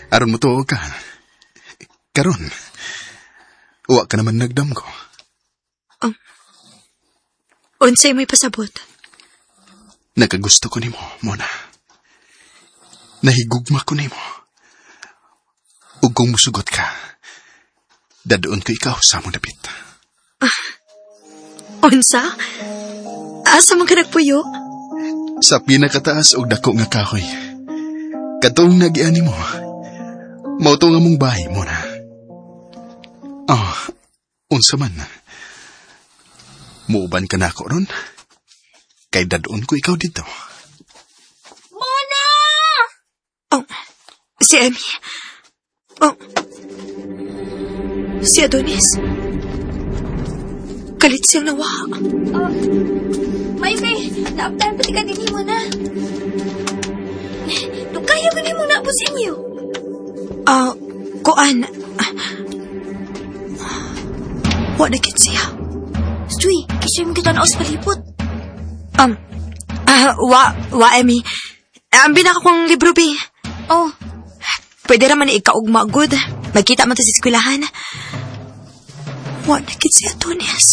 Aron mo tuo ka. Karon, wa ka naman nagdamgo. Unsay may pasabot? Nakagusto ko nimo, Mona. Nahigugma ko nimo. Ug kung musugot ka, dadoon ko ikaw sa among dapit. Unsa? Asa man ka nagpuyo? Sa pinakataas og dako nga kahoy. Katong nagian nimo. Mao to nga mong bahay, Mona. Ah, unsa man. Muuban ka na ako ron? Kay dadoon ko ikaw dito. Mona! Oh, si Emmy. Oh, si Adonis. Kalit siyang nawa. Oh, may kay, naaptahan pati ka din mo na. Dukayo ka mo naabot sa inyo. Ah, kuan. Wa na gid siya. Stoy, kisay mo kita na sa palipot. Wa, Emmy. Ang binaka kong libro, bi. Oh, Pwede raman ni ikaugma, good. Magkita man ta sa eskwelahan. Wa na gid si Adonis.